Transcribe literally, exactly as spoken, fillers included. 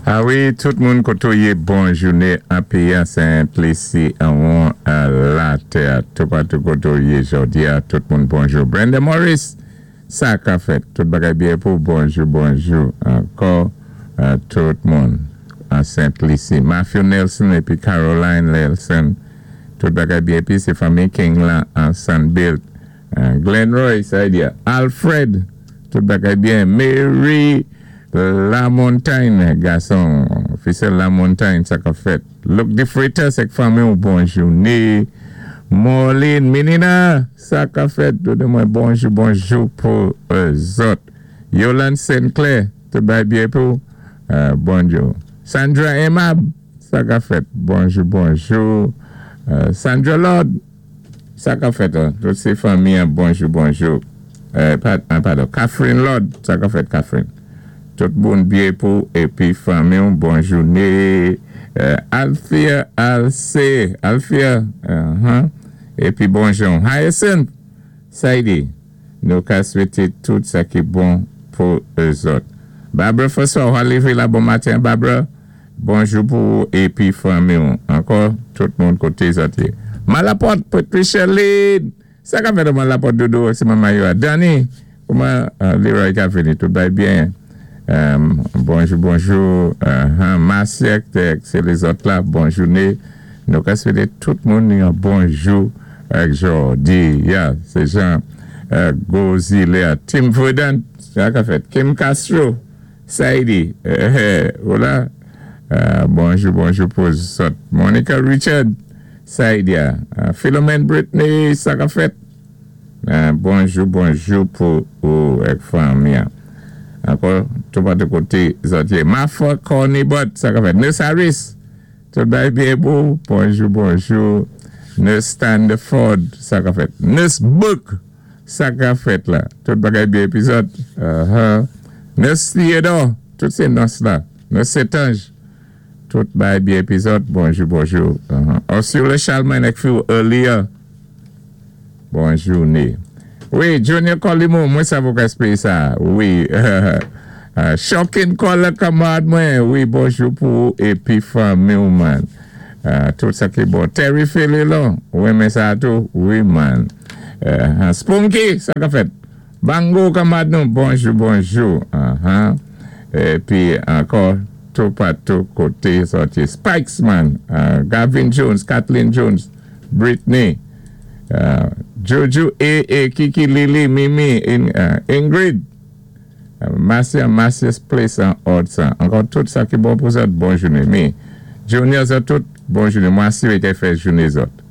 A wi, tout moun koté ou yé, bon jouné an péyi an Sent-Lisi, an latè, toupatou koté ou yé jòdi a, tout moun bonjou. Brenda Morris, sa ka fèt, tout bagay byen pou bonjou, bonjou, ankò, tout moun an Sent-Lisi. Matthew Nelson épi Caroline Nelson, tout bagay byen épi sé fanmi King la an Sunbuilt. Glenn Roy, sa di Alfred, tout bagay byen. Mary La Montagne, gason, Fisel La Montagne, sa ka fèt. Luke DeFreitas, ak fanmi ou bon jouné. Marlene Menina, sa ka fèt. Tout mwen bonjou, bonjou pou zòt. Yolande Sinclair, tout bagay byen pou. Bonjou. Sandra Emab, sa ka fèt. Bonjou, bonjou. Sandra Lord, sa ka fèt. Tout sé fanmi, bonjou, bonjou. Padon, Catherine Lord, sa ka fèt, Catherine. Tout bon byen pou épi fanmi, bon jouné. Althea, Alcé, Althea, épi bonjou. Hyacinth, Saidi, nou ka swété tout sa ki bon pou zòt. Barbara François, ou lévé la bon maten, Barbara. Bonjou pou épi fanmi. Ankò, tout moun koté zòt. Malapot, Patricia Lynn. Sa ka fèt Malapot dodo, sé manman yo. Danny, kouman Leroy ka vini, tout bay byen. Bonjou, bonjou. Marcia, sé lézòt la, bon jouné. Nou ka swété tout moun yon bonjou ak jòdi. Ya, sé Jean Gozile. Tim Verdant, sa ka fèt. Kim Castro, Saidi. Hola. Bonjou, bonjou pou zòt. Monica Richard, Saidia. Philomene Britney, sa ka fèt. Bonjou, bonjou pou ou ak fanmi. Ankò, toupatou koté zòt yé. Mafa Cornibot, sa ka fèt. Nurse Harris, tout bay byen pou. Bonjou, bonjou. Nurse Standford, sa ka fèt. Nurse Book, sa ka fèt la. Tout bagay byen épi zòt. Nurse Theodore, tout sé nurse la. Nurse Setange, tout bay byen épi zòt. Bonjou, bonjou. Ursula Chalman ek fi earlier. Bonjou, né. Wi, Junior Colimo, mwen sa pou ka sa. Wi. Shocking Color kanmad mwen. Wi, bonjou pou épi fanmi man. Tout sa ki bon. Terry Phililon. Wi, men sa tou. Wi, man. Spunky, sa ka fèt. Bango kanmad nou. Bonjou, bonjou. Épi ankò, toupatou koté sòti. Spikes, man. Gavin Jones, Kathleen Jones, Britney. Jojo A. A. Kiki, Lily, Mimi, Ingrid. Marcia, Marcia's Place an Hudson. Ankò tout sa ki bon pou zòt, bon jouné. Mi, Junior zòt tout, bon jouné. Mwen asiré ke fè jouné zòt.